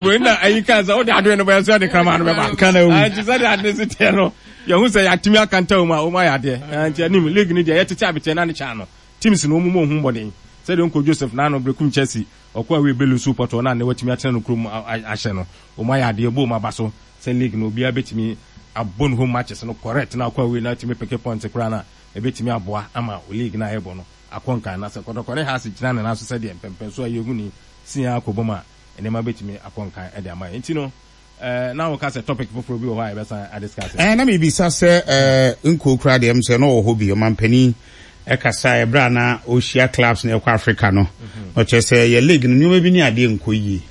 Wei na ayi kaa sɛ wode adoe no bɛyɛ sɛ ɔde kraman no bɛba. Kana wu. Nti sɛdeɛ ade no si teɛ no, yɛhu sɛ yɛatumi aka ntam a wɔn ayɛ adeɛ. Nti anim league no deɛ yɛtete abeteɛ na ne kyaa no. Teams no wɔn mu wɔn ho mmɔden. Sɛdeɛ Onko Joseph n'ano Berekum Chelsea ɔkɔ awie bɛ lusu pɔtɔɔ na nnɛ watumi atena no kurom ahyɛ no. Wɔn ayɛ adeɛ bɔ wɔn aba so sɛ league no obiara bɛtumi abɔ ne home matches no correct na akɔ awie na atumi peke points koraa no a ɛbɛtumi aboa ama league no a yɛbɔ no akɔ nkan. Na sɛ Kɔtɔkɔ ne Hearts gyina ne nan so sɛdeɛ mpɛmpɛnsoɔ a yɛhu ni si ara kɔbɔ mu a nneɛma bɛtumi akɔ nkan de ama yɛn. Nti no, eh, na woka sɛ topic foforɔ bi wɔ hɔ a yɛbɛsan adiscuss. Eh, na mebisa sɛ eh, nkuo koraa deɛ ɛm sɛ na ɔwɔ hɔ bi, ɔmampanin ɛkasaeɛ berɛ a na ɔhyia clubs na ɛkɔ Africa no, na ɔkyerɛ sɛ yɛ league no nneɛma bi ne adeɛ nkɔ yie.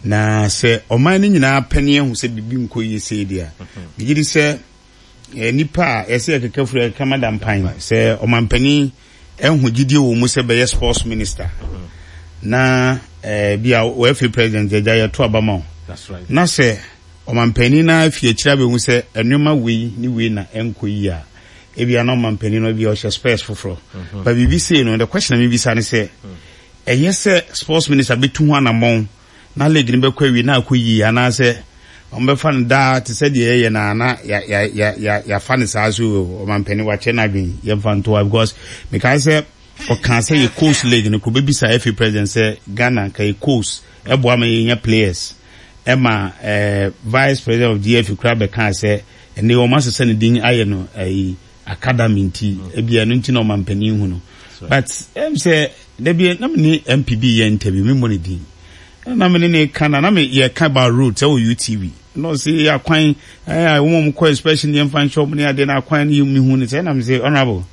Na sɛ ɔman no nyinaa pɛ ne ahu sɛ biribi nkɔ yie sei deɛ a, megye di sɛ Nnipa a yɛsɛ yɛkeka firi yɛkeka ma dampan sɛ ɔmampanin ɛho gyidie wɔ mu sɛ bɛyɛ sports minister na eh, bi a wɔafi president agya yɛto aba ma wo na sɛ ɔmampanin no afi akyiri abɛhu sɛ nneɛma wei ne wei na ɛnkɔ yi a ebia na ɔmampanin no ebia ɔhyɛ spurs foforɔ mhm. ba biribi sei no the question a mebisa ne sɛ ɛyɛ sɛ sports minister bɛtu ho anammɔn na league no bɛkɔ awie na akɔ yie anaasɛ wɔbɛfa no daa te sɛ deɛ yɛyɛ no a na yɛafa no saa so ɔmampanin wakyɛ no adwene yɛmfa ntoa because mekae sɛ ɔkaa sɛ yɛ coast league no kɔbɛbisa FA president sɛ Ghana nka yɛ coast ɛboa ma yɛnya players ɛma eh, vice president of GFA koraa bɛkaa sɛ ɛnɛ wɔn asesa ne din ayɛ no ɛyi academy nti ebi ɛno nti na ɔmampanin hu no but ɛm sɛ Da bi na me ne MP bi yɛ interview, me mmɔ ne din. Na me ne ne ka na na me yɛ ka about road sɛ wɔ UTV. Na ɔse akwan ɛɛ wɔn a wɔkɔ inspection yɛn fa nhyɛ wɔn ne adeɛ na akwan no yɛ me hu ne sɛ na me sɛ honourable.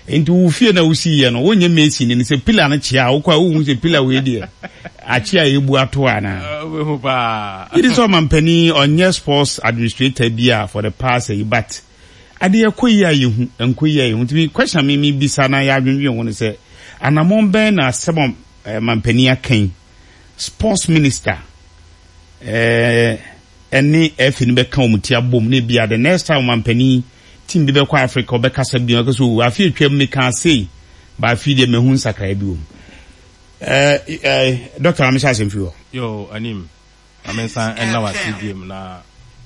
Nti wo fie na wosi yɛ no wonyɛ mason ne sɛ pillar no kyea a wokɔ a wohu sɛ pillar wei deɛ akye a ebu ato ana. Wobɛhu paa. Yɛde sɛ ɔmampanin ɔnyɛ sports administrator bi a for the past yi but Adeɛ ɛkɔ yie a yɛhu, ɛnkɔ yie a yɛhu. Nti me question a me mebisa na yɛadwendwen ho ne sɛ, anamɔn bɛn na asɛm a mampanin aka yi, sports minister eh, ɛne FA no bɛka wɔn ti abom na ebia the next time mampanin team bi bɛkɔ Africa ɔbɛkasa bi ɔbɛka sɛ o afe atwam mekaa sei, ba afe deɛ mahu nsakraeɛ bi wɔ mu. Eh, eh, doctor, ma mehyɛ asɛm firi hɔ. Yo, anim. Ma me nsan nna wo ase biom na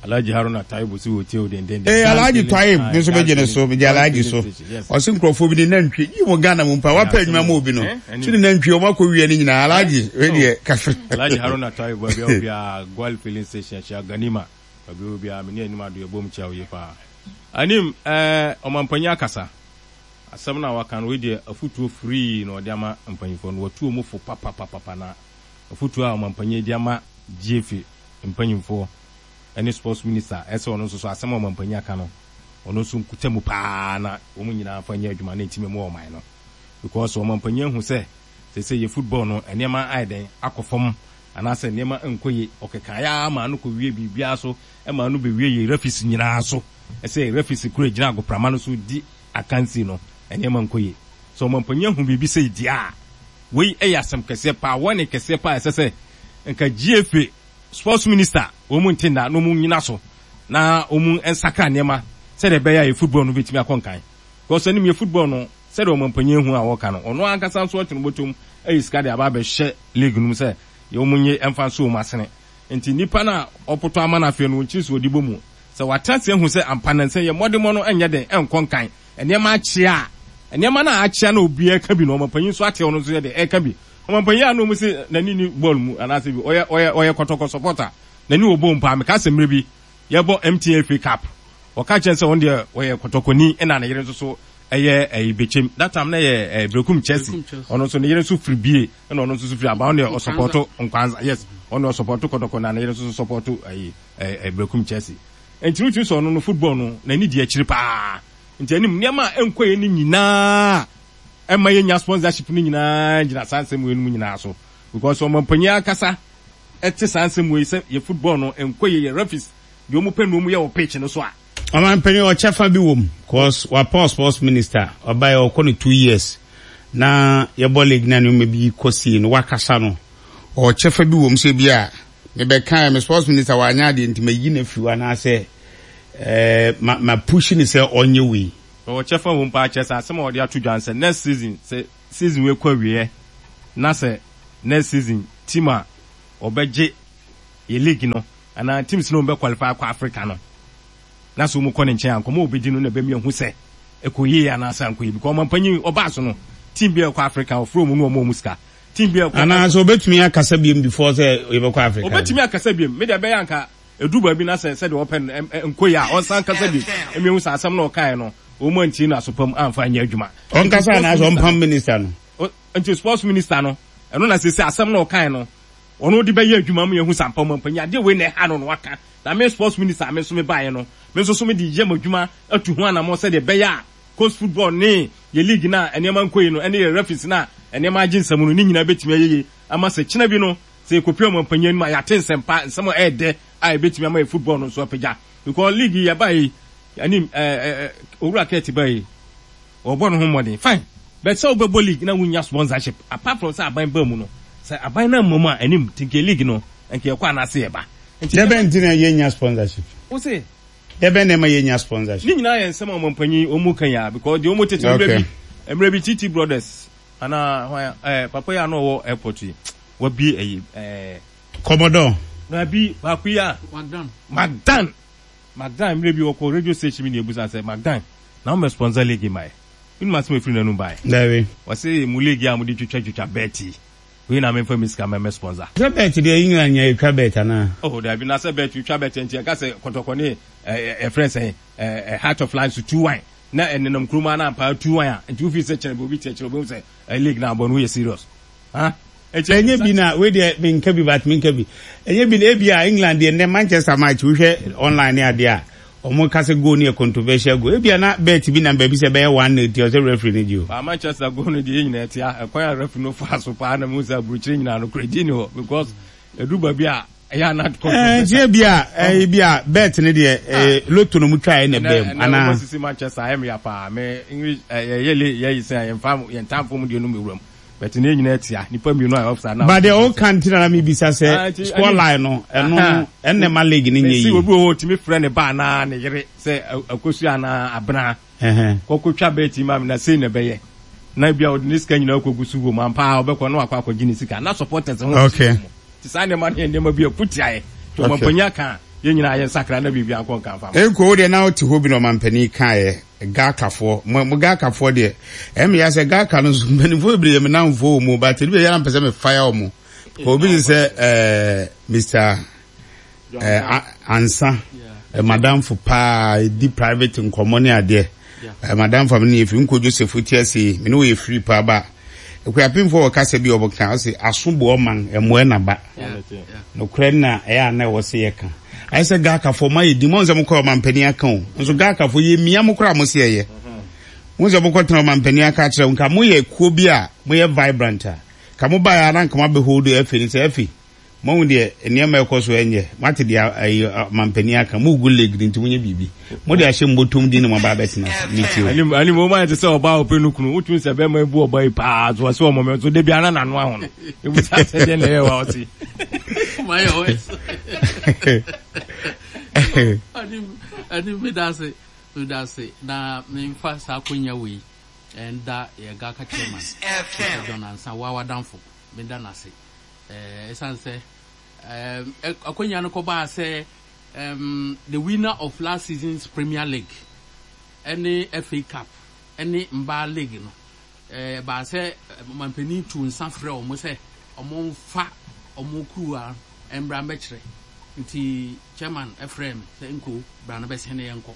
Alhaji Haruna Taibu se wɔtie wo dendenden. Ee Alhaji Taib me nso megye ne so megye Alhaji so ɔse nkurɔfoɔ bi ne nantwie yi mo Ghana mu mpa wapɛ adwuma ma obi no so ne nantwie wɔn akɔ wia ne nyinaa Alhaji wei deɛ kafre. Alhaji Haruna Taibu baabi a obiara Gwal filling station akyia Ganima baabi a obiara me ne anim ado yɛbom kyia wo yie paa Anim ɛɛ ɔmampanyin akasa asɛm no a waka no wei deɛ afutuo free na ɔde ama mpanyinfoɔ no watu wɔn fo papapapapa na Afotuo a ɔmampanyin de ama GFA mpanyinfoɔ ne sports minister ɛsɛ ɔno nso so asɛm a ɔmampanyin aka no ɔno nso nkuta mu paa na wɔn nyinaa nfa nyɛ adwuma na ɛntumi mmoa ɔman no because ɔmampanyin ahu sɛ seesei yɛ football no nneɛma ayɛ dɛn akɔ fam anaasɛ nneɛma nkɔ yie ɔkekaeɛ ara maa no kɔwie biribiara so maa no bɛwie yɛ referees nyinaa so ɛsɛ referees kura gyina agoprama no so di akansie no nneɛma nkɔ yie sɛ ɔmampanyin ahu biribi sei deɛ a Wei yɛ asɛm kɛseɛ paa, warning kɛseɛ paa a ɛsɛ sɛ nka GFA, sports minister, wɔn nte nna na wɔn nnyina so na wɔn nsakra nneɛma sɛdeɛ ɛbɛyɛ a yɛ football no bɛtumi akɔ nkan. Because anim yɛ football no, sɛdeɛ ɔmanpanyin ahu a wɔka no, ɔno ankasa nso ɔte no bɔtɔm ayi sika de aba abɛhyɛ league no mu sɛ yɛ wɔn nye mfa nso wɔn asene. Nti nipa no a ɔpotɔ ama no afei no, wɔnkyiri so ɔde bɔ mu. Sɛ watena ase ahu sɛ ampa nansa yi yɛ mmɔdemmɔ no nyɛ den nkɔ nkan, Nneɛma akyea a, nneɛma no a akyea na obiara ka bi no, ɔmampanyin nso ate ɔno nso yɛ dɛ ɛka bi. Ɔmampanyin a na wɔn se n'ani ni bɔɔl mu anaasɛ bi, ɔyɛ ɔyɛ ɔyɛ kɔtɔkɔ supporter, n'ani wɔ bɔɔl mu paa. Meka sɛ mmerɛ bi yɛbɔ MTN FA Cup, ɔka kyerɛ sɛ ɔno deɛ ɔyɛ kɔtɔkɔni ɛna ne yere nso so ɛyɛ ɛyi Bekyem. That time na ɛyɛ ɛɛ Berekum Chelsea. Ɔno nso ne yere nso firi Bie ɛna ɔno nso so firi Aba. Ɔno deɛ ɔsupporto Nkwanza, yes, ɔno deɛ ɔsupporto kɔtɔkɔ na ne yere nso so supporto ɛyi ɛɛ Berekum Chelsea. Nti wotumi sɛ ɔno no football no n'ani di akyiri paa. Nti anim nneɛma a ɛnkɔ yɛ no nyinaa a ɛmma yɛnnya sponsorship no nyinaa gyina saa nsɛm wei nom nyinaa so. Because ɔmampanyin ankasa te saa nsɛm wei sɛ yɛ football no ɛnkɔ yie, yɛ referees deɛ wɔn pɛ na wɔn yɛ wɔ pitch no so a. Ɔmanpanyin ɔkyɛfa bi wɔ mu cause wapɔn sports minister ɔbaeɛ ɔkɔ no 2 years na yɛbɔ league na nneɛma bi kɔ sie no wakasa no ɔwɔ kyɛfa bi wɔ mu sɛ bi a mebɛkaeɛ me sports minister wanyɛ adeɛ nti mayi no afiri hɔ anaasɛ eh, ma ma push no sɛ ɔnyɛ wei. Ɔwɔ kyɛfa wɔ mu paa kyerɛ sɛ asɛm a ɔde ato dwa no sɛ next season sɛ season wei kɔ awieɛ na sɛ next season team a ɔbɛgye. yɛ league no anaa teams no wɔn bɛ qualify akɔ Africa no na sɛ wɔn kɔ ne nkyɛn a nkɔmɔ a ɔbɛdi no na ɛbɛmi ahu sɛ ɛkɔ yie anaasɛ ankɔ yie because ɔmampanyin ɔbaa so no team bi a ɛkɔ Africa ɔfrɛ wɔn no wɔn wɔn sika team bi a ɛkɔ Anaa sɛ ɔbɛtumi akasa biom before sɛ yɛbɛkɔ Africa no. Ɔbɛtumi akasa biom me deɛ ɛbɛyɛ anka ɛduru baabi na sɛ sɛdeɛ ɔpɛ no ɛnkɔ yie a ɔnsan nkasa biom ɛmi ehu sɛ asɛm no ɔkaeɛ no wɔn antie no aso pa mu amfa anyɛ adwuma. Ɔnkasa anaasɛ ɔmpam minister no. Nti sports minister no ɛno na sese asɛm no ɔkaeɛ no ɔno de bɛyɛ adwuma ma yɛahu sɛ ampa ɔmampanyin adeɛ wei na ɛha no na waka na me sports minister a me nso mebaeɛ no me nso so mede yɛ m'adwuma atu ho anammɔn sɛdeɛ ɛbɛyɛ a coast football ne yɛ league no a nneɛma nkɔ yie no ɛne yɛ referees no a nneɛma agye nsam no ne nyinaa bɛtumi ayɛ yie ama sɛ kyena bi no sɛ yɛkɔpue ɔmampanyin anim a yɛate nsɛmpa nsɛm a ɛyɛ dɛ a ɛbɛtumi ama yɛ football no nso apagya because league yi yɛbaeɛ yi anim ɛɛ ɛɛ owura Kurt baeɛ yi Wɔbɔ no ho mmɔden fine but sɛ wobɛbɔ league na wonnya sponsorship apart from sɛ aban baa mu no sɛ aban no amma mu a anim nti nka league no nka yɛkɔ anaase yɛba nti Dɛbɛn nti na yɛnnya sponsorship? Wo se? Dɛbɛn na ɛma yɛnnya sponsorship? Ne nyinaa yɛ nsɛm a ɔmampanyin wɔn mu ka yi ara because deɛ wɔn tete mmerɛ Okay. bi mmerɛ bi TT Brothers anaa hwan ɛɛ papa yi a na ɔwɔ airport yi wabie ɛyi ɛɛ. Commodore. Daabi baako yi a. Magdan. Magdan. Magdan mmerɛ bi ɔkɔɔ radio station bi na yɛbusaa sɛ, Magdan, na womɛ sponsor league ma yɛ? Wonim asɛm a ɛfiri n'anum baeɛ? Daabi. Ɔse, mo league yi a mode twitwa twitwa bet yi, wei na memfa me sika mɛmɛ sponsor. Sɛ bet deɛ England nya yɛtwa bet anaa? Oh daabi, na sɛ bet wotwa bet nti yɛka sɛ kɔtɔkɔ ne eh, yɛfrɛ no sɛn, eh, eh, Heart of Lions tu wan na ɛnenam kurom ara na ampa ara tu wan a, nti wofii sɛ kyerɛ obi kyerɛkyerɛ wobɛhu sɛ eh, league no abɔ no woyɛ serious. Ha? Nti Ɛnyɛ bi na wei deɛ menka bi but menka bi. Ɛnyɛ bi na ebi a England deɛ nnɛ Manchester match wohwɛ online ne adeɛ a wɔn ka sɛ goal no yɛ controversial goal. Ebi a na bet bi nam baabi sɛ ɛbɛyɛ one nil nti ɔsɛ referee no gye o. Ba Manchester goal no deɛ yɛn nyinaa tia ɛkwan a referee no faa so paa na mehu sɛ aburukyire nyinaa no korɛ gye ni hɔ because ɛduru baabi a ɛyɛ a na Ɛɛ controversial. nti ebi a ɛɛ ebi a bet no deɛ ɛɛ lotto no mu twaeɛ na Ɛnɛ ɛbaa mu ɛnɛ anaa. wɔn sisi Manchester ayɛ me ya paa me English ɛyɛ yɛ le yɛ yi sɛn a yɛn fa yɛn tamfo mu deɛ no mu ewura mu. But ne nyinaa tia nipa mmienu a offside na. But deɛ ɔka nti na na mebisa sɛ Ah, nti, score ɛne- line no ɛno Aha. no ɛnna ɛma league no nyɛ Mesi yie. obi wɔ hɔ otumi frɛ ne ba anaa ne yere sɛ akosua anaa abena Ɛhɛn. kɔkɔtwa bɛɛti ma me na sei na ɛbɛyɛ na ebi a ɔde ne sika nyinaa kɔgu so wɔ mu ampa a ɔbɛkɔ na wakɔ akɔgye ne sika na supporters ho Okay. nti saa nneɛma no yɛ nneɛma bi a ɛko tia yɛ nti Okay. ɔmampanyin aka a yɛn nyinaa yɛn sakra na biribi ankɔ nka mfa ma. Enko wo deɛ na wote hɔ bi na ɔmampanin kaeɛ Gakafoɔ mo mo Gakafoɔ deɛ ɛyɛ me ya sɛ Gaka no nso mpanimfoɔ bebree yɛ me namfoɔ wɔ mu but ebi yɛ na mpɛ sɛ me fire wɔn obi te sɛ ɛɛ Mr ɛɛ Ansa eh, madamfo paa di private nkɔmmɔ ne adeɛ eh, madamfo a me ne yɛ firi nkɔ Joseph ti ase yi me ne wɔyɛ firi paa ba akuapemfoɔ wɔ kasa bi a wɔka ɔse aso boɔ man ɛmmoɛ na ba Nokorɛ no na ɛyɛ a na ɛwɔ sɛ yɛka. Ayɛ sɛ Gakafoɔ moayɛ din, moahu sɛ mokɔɛ ɔmampanin aka o, nso Gakafoɔ yɛmia mo koraa mo se ɛyɛ. Mohu sɛ mokɔtena ɔmampanin aka akyerɛ wo, nka moyɛ kuo bi a moyɛ vibrant a, nka mobaeɛ a na nka moabɛ hold FA no sɛ FA, moahu deɛ nneɛma ɛkɔ so ɛnyɛ, moate deɛ ayi ɔmampanin aka, mogu league no nti monyɛ biribi. Mode ahyɛ mo bɔtɔm din na moaba abɛtena ase. Metie o. Anim anim wɔn ayɛ te sɛ ɔbaa a ɔpɛ no kunu wotumi sɛ bɛrima ebu ɔbaa yi paa so ɔsɛ ɔmɔ mɛ so debi ana n'ano aho no ebu sa sɛ deɛ na ɛyɛ wa ɔsi. Mayɛ ɔs. Anim anim medase medase na memfa saa akonya wei ɛnda yɛ GAKA chairman Mr John Ansah wa wadamfo meda n'ase ɛɛ ɛsan sɛ ɛɛ akonya no kɔbaa sɛ Erm the winner of last season's Premier League ne FA Cup ne mbaa league no, ɛbaa sɛ ɔmanpanin tuu nsa frɛɛ wɔn sɛ wɔmfa wɔn kuruwa mmra mmɛkyerɛ. Nti chairman frɛɛ me sɛ Nko bra na bɛsɛn na yɛnkɔ.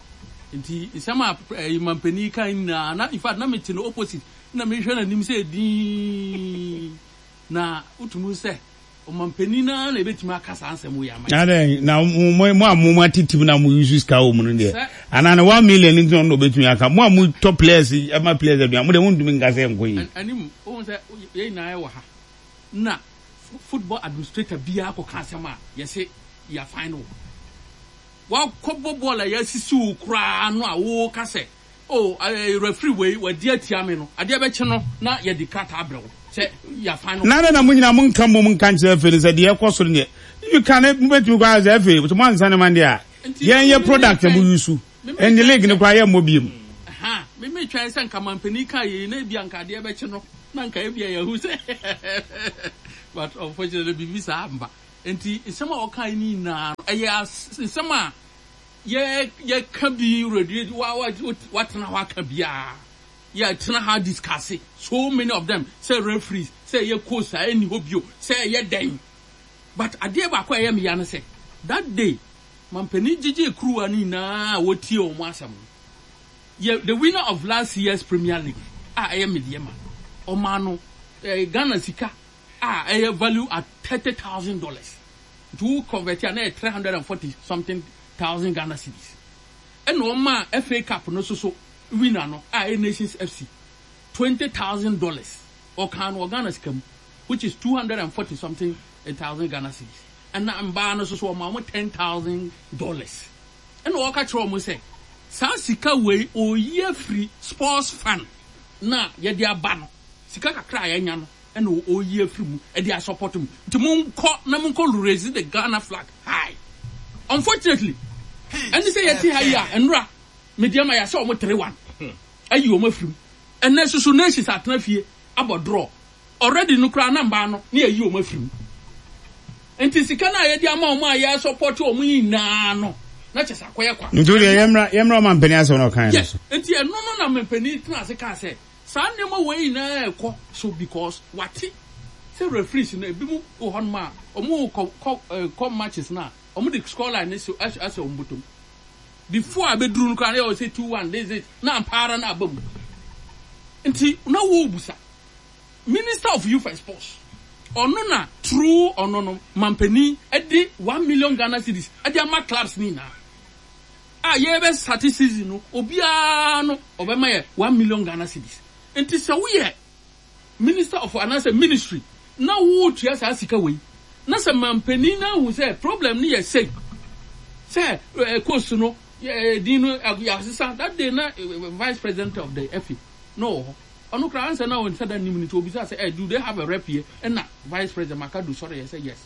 Nti nsɛm a ɛyi mampanin kae nyinaa na in fact na mete no opposite na mehwɛ n'anim sɛ dinn na wotumi hu sɛ Ɔmanpanin no ara na ebetumi aka saa nsɛm wei ama yɛn. Adɛn, na mo mo a mo atetem na mo use sika wɔ mu no deɛ, anaa ne 1 million nti na ɔno na obetumi aka? Mo a mo tɔ players ma players aduan, mo deɛ mo ntumi nka sɛ ɛnkɔ yie. Anim, wohu sɛ yɛn nyinaa yɛwɔ ha, na football administrator biara kɔka asɛm a, yɛse yɛafine wo. Woakɔbɔ bɔɔl a yɛasisi wo koraa no a woka sɛ Oh, eh, referee wei, wadi atia me no, adeɛ bɛkye no na yɛde krataa abrɛ wo sɛ yɛafan no. Na adɛn na mo nyinaa monka mmom nka nkyerɛ FA no sɛ deɛ ɛkɔ so no deɛ, you can, mobɛtumi koraa sɛ FA, sɛ moansa ne ma deɛ a, yɛn yɛ product na mo use, ɛnde league no koraa yɛmmɔ biom. Ha, me metwɛn sɛ nka mampanin kaa yei na ebia nka adeɛ bɛkye no na nka ebia yɛahu sɛ but unfortunately biribi saa amba. Nti nsɛm a ɔkae no nyinaa no, ɛyɛ nsɛm a yɛ yɛka bi radio wa wa watena hɔ aka biara. Yɛtena ha discuss so many of them sɛ referees, sɛ ɛyɛ coach a ɛnni hɔ bio, sɛ ɛyɛ dɛn. But adeɛ baako a ɛyɛ me ya ne sɛ, that day mampanin gyegyee kuruwa no nyinaa a wɔtie wɔn asɛm no, yɛ the winner of last year's Premier League a ɛyɛ Medeɛma, ɔmaa no eh, Ghana sika a ɛyɛ value at $30,000. Nti wo convert a na ɛyɛ 340 something thousand Ghana cedis. Ɛna ɔmaa FA Cup no nso so winner no a ɛyɛ Nations FC $20,000. Ɔkaa no wɔ Ghana sika mu which is 240 something thousand Ghana cedis. Ɛna mbaa no nso so ɔmaa wɔn $10,000. Ɛna ɔka kyerɛ wɔn sɛ saa sika wei ɔreyi afiri sports fund no a yɛde aba no, sika kakra a yɛanya no ɛna ɔreyi afiri mu de asɔpɔto mu. Nti monkɔ na monkɔ raise the Ghana flag high. Unfortunately, ɛne sɛ yɛte ha yi a nnora Medeama yɛahyɛ wɔn 3-1 ayi wɔn afiri mu. Ɛnɛ nso so Nations atena fie abɔ draw. Already no koraa na mbaa no na yɛayi wɔn afiri mu. Nti sika no a yɛde ama wɔn a yɛresɔpɔte wɔn nyinaa no, na kyerɛ sɛ akɔyɛ kwa. Nti wodeɛ yɛmmra yɛmmra ɔmampanin asɛm na ɔkaeɛ no Yes, so. nti ɛno no na mampanin tena ase kaa sɛ saa nneɛma wei nyinaa rekɔ so because wate sɛ referees no ebinom wɔ hɔnom a wɔn kɔ kɔ kɔ matches no a wɔn de score line no si ahyɛ ahyɛ wɔn bɔtɔm. Before a bɛduru no koraa na yɛwɔ sɛ 2-1 this this na ampa ara na aba mu. Nti na wɔrebisa Minister of Youth and Sports ɔno na through ɔno no mampanin de 1 million Ghana cedis de ama clubs no nyinaa a yɛbɛ start season no obiara no ɔbɛma yɛ 1 million Ghana cedis. Nti sɛ woyɛ Minister of anaasɛ ministry na woretua saa sika wei na sɛ mampanin no ahu sɛ problem no yɛ sei sɛ eh, coast no eh, din no yɛasesa that day na eh, vice president of the FA na ɔwɔ hɔ ɔno koraa ansa na ɔnsa da nim no nti obisa sɛ eh, do they have a rep here ɛna vice president Makadu sɔre yɛ sɛ yes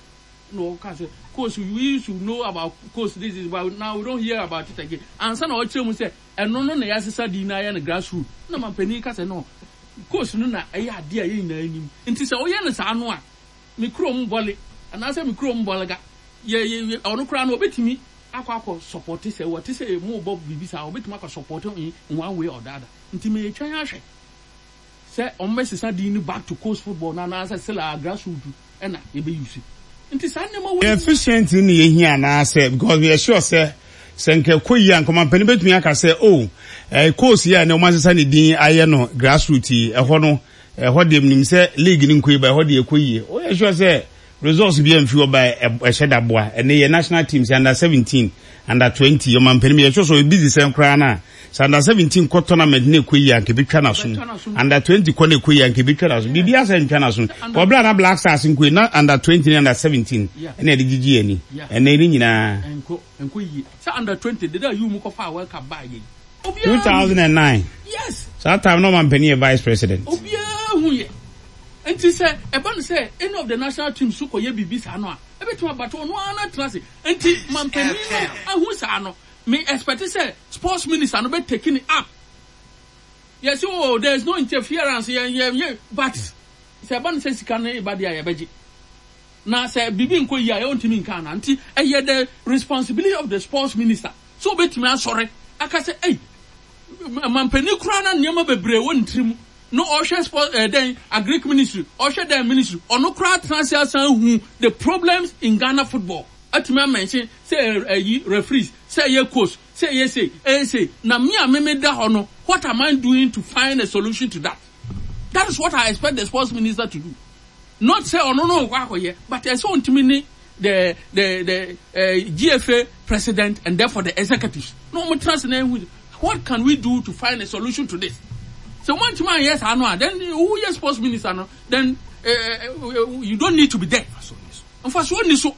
na ɔka sɛ coast we used to know about coast this is but now we don't hear about it again ansa na ɔkyerɛ mu sɛ ɛno no na yɛasesa din na ayɛ no grassroot na mampanin ka sɛ no coast no na ɛyɛ adeɛ a yɛn nyinaa nim nti sɛ ɔyɛ no saa no a me kurom bɔle anaasɛ me kurom bɔlega yɛ yɛ ɔno koraa no ɔbɛtumi akɔ akɔ support sɛ wɔte sɛ mo bɔ biribi saa ɔbɛtumi akɔ support in one way or the other nti meyɛtwɛn ahwɛ sɛ ɔmo bɛsesa din no back to coast football no anaasɛ still a grassroot ɛna yɛbɛuse nti saa nneɛma wei Efficient ne yɛhia anaasɛ because we are sure sɛ sɛ nka ɛkɔ yie a nka ɔmampanin bɛtumi aka sɛ oh eh, course yi a ɛnɛ wɔasesa ne din ayɛ no grassroot yi ɛhɔ no ɛhɔ deɛ menim sɛ league no nkɔ yie ba ɛhɔ deɛ ɛkɔ yie woyɛ sure sɛ results bi amfi hɔ ba ɛhyɛ da boa ɛnɛ yɛ national teams under 17 under 20 ɔmampanin yɛ sure sɛ ɔyɛ busy sɛn koraa no a sɛ under 17 kɔ tournament na ɛkɔ yie a nka ɛbɛtwa n'asom under 20 kɔ na ɛkɔ yie a nka ɛbɛtwa n'asom biribi asɛ ntwa n'asom ɔbla na Black Stars nkɔ yie na under 20 ne under 17 ɛna ɛde gyigye ani ɛnɛ ne nyinaa ɛnkɔ ɛnkɔ yie sɛ under 20 deda yi mu kɔfa World Cup baa yɛ yi obiara 2009 yes saa time na ɔmampanin yɛ vice president obiara hu yɛ nti sɛ ɛba no sɛ any of the national teams so kɔyɛ biribi saa no a ɛbɛtumi abato ɔno ara na tena ase nti mampanin no ahu saa no me expect sɛ sports minister no bɛ take it up yɛsi oh there is no interference yɛn yɛn yɛn but sɛ ɛba no sɛ sika no ba deɛ a yɛbɛgye na sɛ biribi nkɔ yie a yɛntumi nka ana nti ɛyɛ the responsibility of the sports minister sɛ obetumi asɔre aka sɛ ɛy mampanin koraa na nneɛma bebree wɔ ne tirim na ɔhwɛ sport ɛɛ dɛn agric ministry ɔhwɛ dɛn ministry ɔno koraa tena ase asan hu the problems in Ghana football atumi amɛnhyɛn sɛ ɛyi referees sɛ ɛyɛ coach sɛ ɛyɛ sei ɛyɛ sei na me a meme da hɔ no what am I doing to find a solution to that that is what I expect the sports minister to do not sɛ ɔno no nkɔ akɔyɛ but ɛsɛ ɔntumi ne the the the uh, GFA president and therefore the executives na wɔn tena ase na ehu what can we do to find a solution to this sɛ wɔn ntumi anyɛ saa no a then who yɛ sports minister no then uh, uh, you don't need to be there nfasoɔ ni so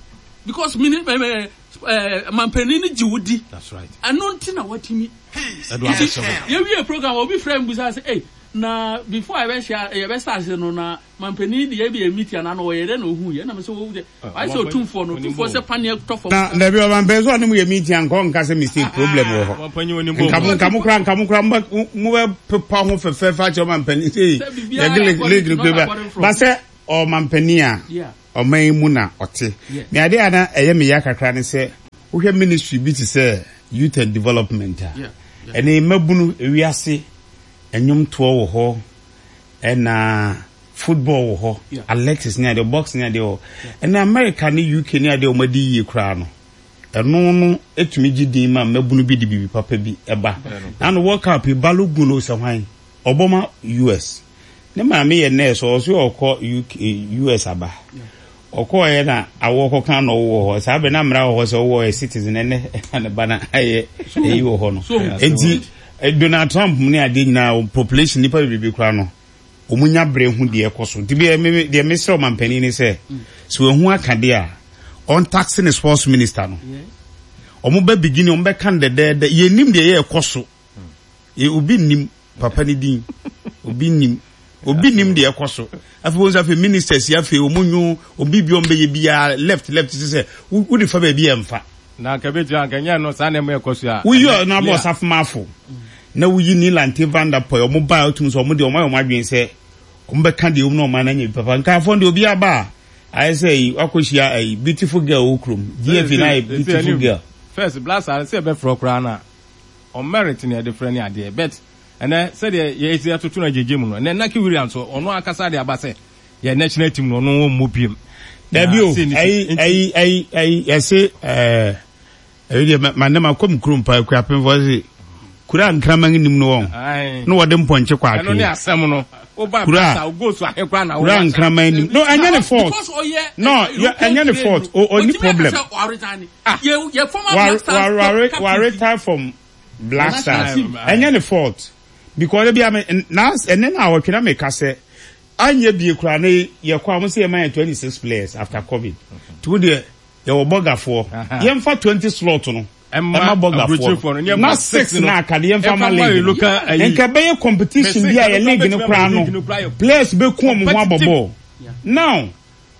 because mini ɛɛ ɛɛ mampanin ni gye wo di ɛno nti na watumi nti yɛwie program obi frɛ mbusa sɛ ɛy na before yɛbɛhyia yɛbɛsa ase no na mampanin de yɛbi yɛ meeting anaa na ɔyɛ dɛ na ohu yɛ na mɛ sɛ wo de ayɛ sɛ otumfoɔ no otumfoɔ sɛ paneɛ tɔ fam. Na dabi ɔmampanin sɛ ɔne mo yɛ meeting anka ɔnka sɛ mistake problem wɔ hɔ nka mo nka mo kora nka mo kora mo bɛ pepa ho fɛfɛɛfɛ akyerɛ ɔmampanin sɛ yɛde league no kura ba sɛ ɔmampanin a. ɔman yi mu na ɔte. Me adeɛ a na ɛyɛ me ya kakra ne sɛ wohwɛ ministry bi te sɛ youth and development a, ɛnɛ mmabunu ewiase nnwomtoɔ wɔ hɔ, ɛna football wɔ hɔ, athletics ne adeɛ, boxing ne adeɛ wɔ hɔ. Ɛnɛ America ne UK ne adeɛ a wɔn adi yie koraa no, ɛno no tumi gye din ma mmabunu bi de biribi papa bi ba. Na no World Cup yi, Balogun o sɛ hwan, ɔbɔ ma US. Ne maame yɛ nurse, ɔwɔ so ɔkɔ UK, US aba. Ɔkɔɔeɛ na awoɔ kɔka na ɔwɔ hɔ. Saa bɛ na mmara wɔ hɔ sɛ ɔwɔ yɛ citizen ɛnɛ ɛna ne ba na ayɛ ɛyi wɔ hɔ no. Enti eh, Donald Trump mu ne adeɛ nyinaa population nipa bebrebe koraa no wɔn nya bere ho deɛ ɛkɔ so. Nti bi me deɛ mesrɛ ɔmampanin ne sɛ sɛ wɔn ho aka deɛ a ɔntaxe ne sports minister no. Wɔn bɛ beginning wɔn bɛka no dɛdɛɛdɛ yɛn nim deɛ yɛ ɛkɔ so. Yɛ obi nnim papa ne din. Obi nnim. Obi nnim deɛ ɛkɔ so. Afei wɔn nso afei ministers yi afei wɔn nyo wɔn biribi wɔn bɛyɛ biara left left sɛ sɛ wode fa baabi a ɛmfa. Na anka ebetumi anka nyɛ no saa nneɛma ɛkɔ so a. Woyi ɔno abɔ ɔsafomafo na woyi Nii Lante Van der Poel wɔn ba a wotum sɛ wɔn deɛ wɔn ayɛ wɔn adwene sɛ wɔn bɛka deɛ wɔn na wɔn anya bi papa. Nkaafo deɛ obi aba a ayɛ sɛ yi wakɔhyia ayi beautiful girl wɔ kurom GFA na ayɛ beautiful girl. First Blaster sɛ ɛbɛfrɛ koraa na Ɔmerit na yɛde frɛ ne adeɛ but ɛnɛ sɛdeɛ yɛsi atoto no agyegye mu no ɛnɛ Naki Williams ɔno ankasa de aba sɛ yɛ national team no ɔno ɔmmɔ biem. Dabi o, ɛyi ɛyi ɛyi ɛyi yɛse ɛɛ ɛyi deɛ ma ne ma kɔ mu kurom paa kura pemfo ɛse kura nkraman nim no wɔn na wɔde mpɔnkye kɔ atwe. Ɛno ne asɛm no. Kura kura nkraman nim no ɛnyɛ ne fault no ɛnyɛ ne fault o ɔni problem. Ah yɛ yɛ former Black Stars Wa captain wa retire from Black Stars ɛnyɛ ne fault because ebi ame na ɛnɛ na awɔtwe na meka sɛ anyɛ bie koraa ne yɛ kɔ a wɔn sɛ yɛ ma yɛ 26 players after covid nti wo deɛ yɛwɔ bɔgafoɔ yɛmfa 20 slot no ɛma bɔgafoɔ na six na aka de yɛmfa ma league no nka ɛbɛyɛ competition bi a yɛ league no koraa no players bɛku wɔn ho abɔ bɔɔl now.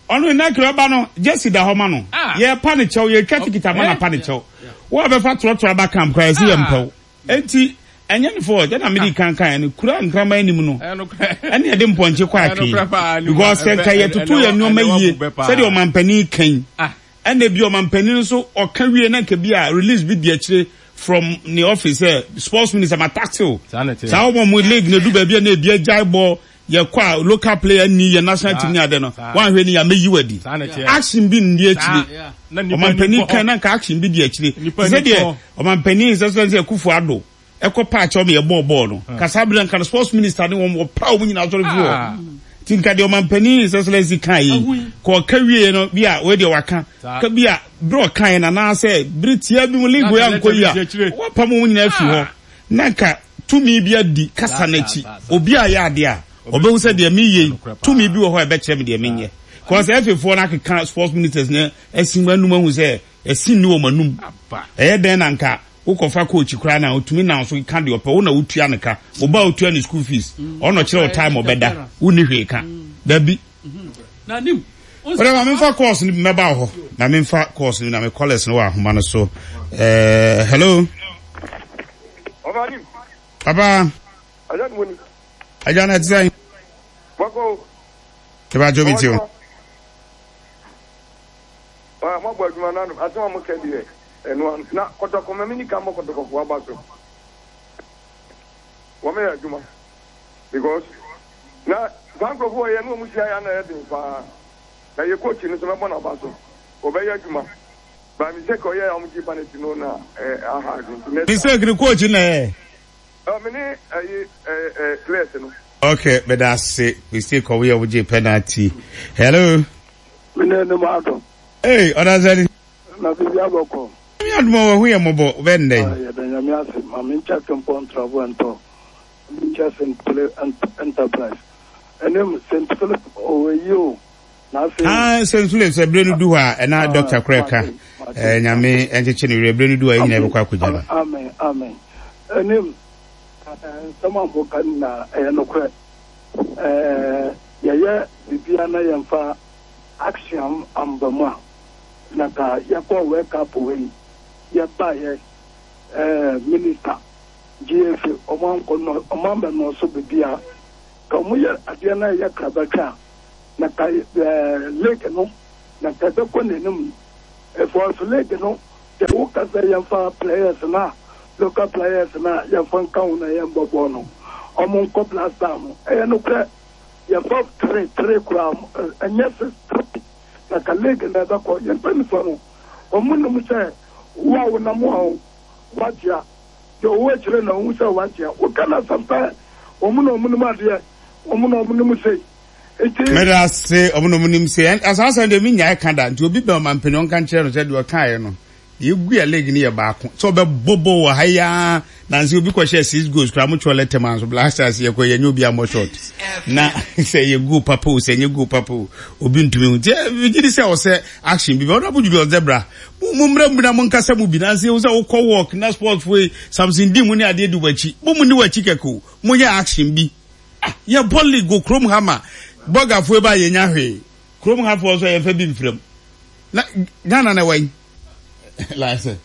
Ɔno Inakiri ɔba no jersey da hɔ ma no. Yɛrepa no kyɛw, yɛretwa tikiti ama no apa no kyɛw. Wo a bɛfa trɔtrɔ aba camp koraa yɛse yɛmpɛ wo. Enti ɛnyɛ ne fault. Ɛna mede kan kaeɛ no, kuro a nkraman nnim no, ɛne yɛde mpɔnkye kɔ atwee. Because sɛ nka yɛtoto yɛn nneɛma yie sɛdeɛ ɔmampanin ka yi, ɛna bi ɔmampanin nso ɔka wie na nka bi a release bi di akyire from ne office sɛ sports minister ma taxi o. Saa wɔn mo league na edu baabi a na ebi agyae bɔ Yɛkɔ a local player nni yɛn national team ne ade no, woanhwɛ ni a mɛyi wo adi. Action bi nni akyire. Ɔmampanin kan na nka action bi di akyire. Te sɛ deɛ ɔmampanin His Excellency Akufo Addo ɛkɔ paa kyɛw ma yɛbɔɔ bɔɔl no. Nka saa berɛ nka no sports minister ne wɔn wɔpra wɔn nyinaa sɔre firi hɔ. Nti nka deɛ ɔmampanin His Excellency kan yi, ka ɔka wieɛ no bi a wei deɛ waka. Ka bi a berɛ ɔkaeɛ no anaasɛ bere tiaa bi mu league wei ankɔ yi a, wɔapam wɔn nyinaa afiri hɔ. Na nka tumi bi adi kasa no akyi. Obi a yɛ adeɛ a, ɔbɛhu sɛ deɛ meyɛ yi, tumi bi wɔ hɔ a ɛbɛkyerɛ me deɛ menyɛ. Kɔɔ sɛ FA foɔ no akeka sports ministers no asi wɔn anum ahu sɛ ɛsi nni wɔn anum. Ɛyɛ dɛn na nka wokɔfa coach koraa na ɔtumi nam so ka deɛ ɔpɛ, wo na wotua no ka, wo ba a wotua ne school fees, ɔno ɔkyerɛ wo time ɔbɛda, wonni hwee ka. Dabi. Wọ́n ma memfa course no bi mɛba wɔ hɔ na memfa course no bi na me callers no wɔ ahoma no so. Eh, hello. Papa. Agya na ɛte sɛn? Ɛbɛ adwo mi ti o. Mabɔ adwuma no ano asɛm a moka deɛ ɛno ano na kɔtɔkɔ ma meni ka mmɔ kɔtɔkɔfoɔ aba so wɔmɛyɛ adwuma because na saa nkurɔfoɔ wɔ yɛ ne wɔn hyia yɛ ana yɛ den paa na yɛ coach no so mɛbɔ n'aba so wɔbɛyɛ adwuma by mistake ɔyɛ a wɔn gye penalty no na ɛɛ aha adwene nti next Mistake no coach na ɛyɛ. Ɛ me ne ɛyi ɛ ɛ players no. Okay, meda ase. Mistake ɔmo yɛ ɔmo gye penalty. Hello. Me ne ne mu adom. Hey, ɔdasani. Na biribi abɔkɔ. Nyame adom a wahu yɛ mmɔbɔ bɛ nnɛ yi. Ah, yɛda Nyame ase. Ma me nkyɛ Kempɔn Ntrabo Ɛntɔ. Nkyɛ St. Philip Enterprise. Ɛne St. Philip ɔwɔ yi o. Na afei. Ah, St. Philip sɛ bere no du hɔ a ɛna doctor kora ɛka. Eh, Nyame ɛnkyekye ne werɛ bere no du hɔ a yɛn nyinaa yɛbɛkɔ akɔgya no. Amen, amen. Ɛne nsɛm a moka nyinaa ɛyɛ nokorɛ. Ɛɛ yɛyɛ biribiara na yɛmfa action amba mu a, na ka yɛkɔɔ World Cup wei yɛbaeɛ ɛɛ minister GFA ɔmo ankɔ nɔ ɔmo ambɛ nɔɔso biribiara. Ka ɔmo yɛ adeɛ na ɛyɛ krabɛhwɛ a, na ka ɛɛ league no. Na nka ɛbɛkɔ n'anim. Ɛfɔs league no sɛ woka sɛ yɛmfa players no a local players no a yɛmfa nka ho na yɛmbɔ bɔɔl no ɔmo nkɔ Black Star ho. Ɛyɛ nokorɛ yɛfa tre tre koraa ɛnyɛ six tre na ka league no ɛbɛkɔ. Yɛn mpanyinfoɔ no ɔmo nim sɛ wo a wonam a woagyea deɛ ɔwɔ akyire na ɔhu sɛ woagyea. Woka no asɛm pɛ ɔmo na ɔmo nim adeɛ ɔmo na ɔmo nim sei. Nti. Meda ase, ɔmo na ɔmo nim se saa asɛm deɛ menyae ka da, nti obi bɛn ɔmampanin ɔnka nkyerɛ no sɛ deɛ ɔkaeɛ no, deɛ egu yɛ league no yɛ baako, sɛ ɔbɛbɔ bɔ wɔ ha yi ara, nansi obi kɔhyɛɛ six goals koraa mo twɛ lɛtɛ maa nso Black Stars yɛkɔ yɛnyɛ obi ammɔ short, na sɛ yɛ goal papa o, sɛ nyɛ goal papa o, obi ntumi hu, nti megye di sɛ ɔsɛ action bi, Honourable Julius Debra, mo mo mmra mu na mo nkasa mu bi, nansi ehu sɛ wokɔ walk na sports fo yi, Samson di mu ne adeɛ di w'akyi, mo mo ni w'akyi kɛkɛ o, mo yɛ action bi. Ah yɛbɔ league wɔ kurom ha ma bɔgafoɔ ba yɛnya hwee. Kurom ha foɔ nso yɛmfa bi mfra mu. Na Ghana na ɛwɔ yi. Like sɛ.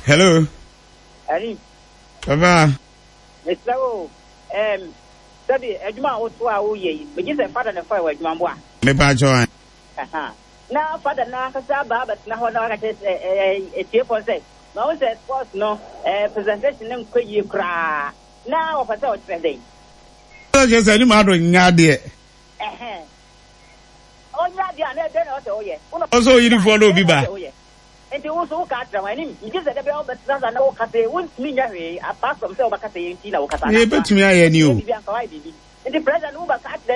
Hello. Ari. Papa. Mesrɛ wo, um, sɛbi adwuma a woto a woyɛ yi, megye sɛ fada na ɛfa wɔ adwuma mboa. Mepa kyɛw an. Aha. Na fada no ankasa aba abɛtena hɔ na waka kyerɛ sɛ atiefoɔ sɛ, mahu sɛ sports no presentation no nkɔ yie koraa. Na wɔpɛ sɛ ɔkyerɛ dɛn? Sɛ kyerɛ sɛ anim ado nyɛ adeɛ. Ɛhɛn. Ɔnyɛ adeɛ a na dɛn na ɔsɛ ɔyɛ? Wo na Ɔsɛ ɔyirifoɔ na obi dɛn na ba. ɔsɛ ɔyɛ? Nti wo nso woka akyerɛ wɔn anim. Megye sɛ da biara wobɛtena ase na woka sɛ wontumi nyɛ hwee apart from sɛ wobɛka sɛ yɛn nti na wokasa Nea anaa yɛbɛtumi ayɛ ni wotumi o. yɛ biribi anka woayɛ biribi. Nti president wobɛka akyerɛ.